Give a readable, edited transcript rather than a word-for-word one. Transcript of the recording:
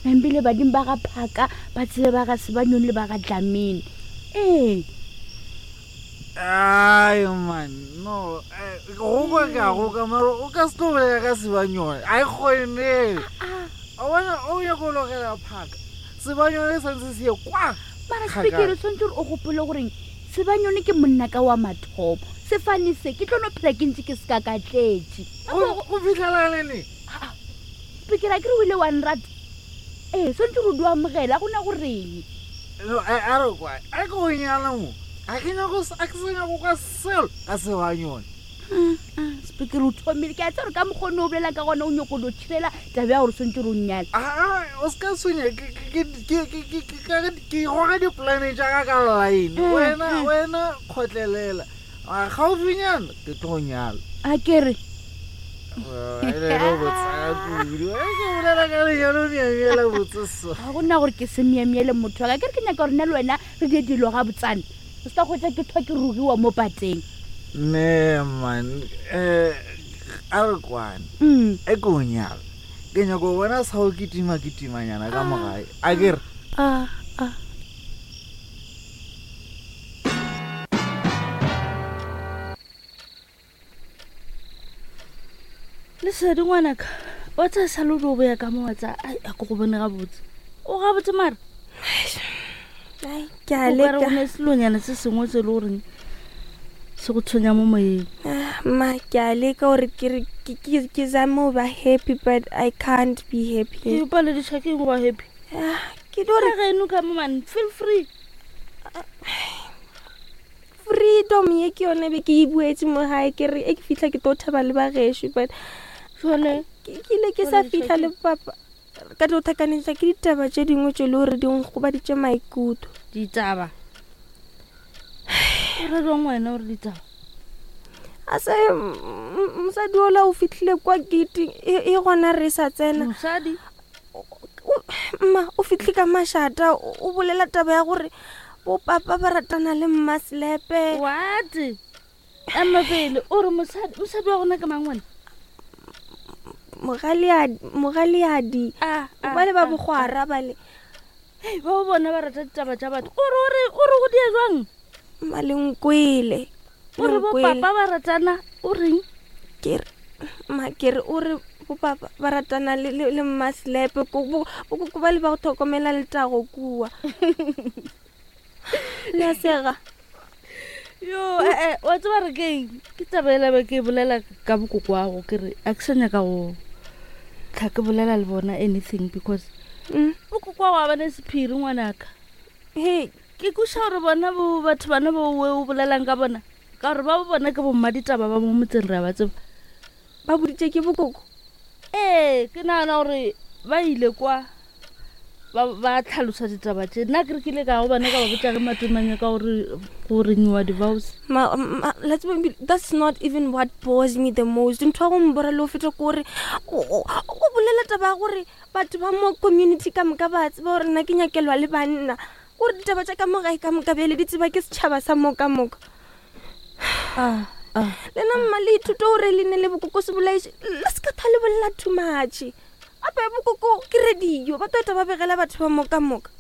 Nambile badimo ba ga Phaka ba tsebe ba ga Sebanyoni le ba ga Dlamini. Ee. Ai man, no, eh, go kwa ke a go ka mara o ka se tlo bolela ka Sebanyoni. A e kgone. O bona o nyako logela Phaka. Sebanyoni santse se ye kwa. Mara Spekere swantse gore o gopole goreng Sebanyoni ke monna ka wa mathomo. Sefane se ke tlo no phela ke ntse ke se ka ka tletše. Go fitlhela lene. Spekere a ke re o ile wa nrata. Ee, swantse gore o di amogela go na goreng. No, a a re kwa, a ke go nyala mo. A ke nyako a ke sa nyako kwa selo ka Sebanyoni. Spekere o thomile ke a tseba gore ka mokgone o bolela ka gona o nyako do thibela taba ya gore swantse gore o nnyale. A o se ka tshwenya ke ke ke ke ke ke ke goga dipolane tša ka ka line. Wena wena kgotlelela. Gaufinyana ke tlo nyala. A ke re ga gona gore ke se myemyele motho wa ka ke re ke nyaka gore nna le wena re die dilo ga botsane o se ka kgotsa ke thwa ke rogiwa mo pateng ne man um a re kwane mm. e ke o nyala ke nyako bona sa go kitima kitimanyana ka mogae a ke re ah, ah. Lesedi ngwanaka wa tsaya sa lodi o boya ka mo wa tsaya ai a ko go bone gabotse o gabotse mara ke a leka go ne selonyana se sengwe se e le goreng se go tshwenya mo moyeng ah, ma ke a leka gore ke ke zame go ba happy but i can't be happy ke palediša ke go ba happy ah, ke tlo re geno ka mo man feel free Freedom ye ke yone be ke e buetse mo gae ke re e ke fitlha ke tlo thaba le bagešo but jale ke ile ke sa fitlha le papa ka tlo thakanetša ke ditaba tše dingwe tše le gore di nkgobaditše maikutlo. Ditaba? O ra jwang wena gore ditaba? A se mosadi ola o fitlhile kwa gate e, e gona re sa tsena. Mosadi? Mma o fitlhe ka mašata o bolela taba ya gore bopapa ba ratana le mmaselepe what ema pele o re mosadi mosadi wa gona ke mang wena mogaleadi ah, ah, ba le ba ah, bogwara ba le Hei, ba bona ba rata ditaba tša batho o re o re o re go dia jwang malenkwele o re bopapa ba ratana o reng ke re ma ke re o re bopapa ba ratana le le le mmaselepe ko bo ba le ba go tlhokomela letago kua le a sega yo ee eh, wa tseba re keng ke taba ela be ke bolela ka bokoko wago ke re a ke sa nyaka go tlha ke bolela le bona anything because mm. bokoko wago a bane sephiri ngwanaka he ke kuša gore bona bo batho bana bo we o bolelang ka bona ka gore ba bo bona ke bomma ditaba ba mo motseng re a ba tseba ba boditše ke bokoko ee ke nagana gore ba ile kwa ba ba tlhalosa ditaba tše nna ke re ke ile ka go bana ka ba botša ge matomanya ka gore go renyiwa divows Ma, ma, la tseba ebile, that's not even what bores me the most ntho ya go mbora le go feta ke gore o o bolela taba ya gore batho ba mo community ka moka ba tseba gore nna ke nyakelwa le banna gore ditaba tša ka mo gae ka moka bjale di tseba ke setšhaba sa mo ka moka ah, ah. lena mma le ithute gore le ne le bokoko se bolaiše le se ka tha le bolela too much ape bokoko ke radio ba tota ba begela batho ba mo ka moka.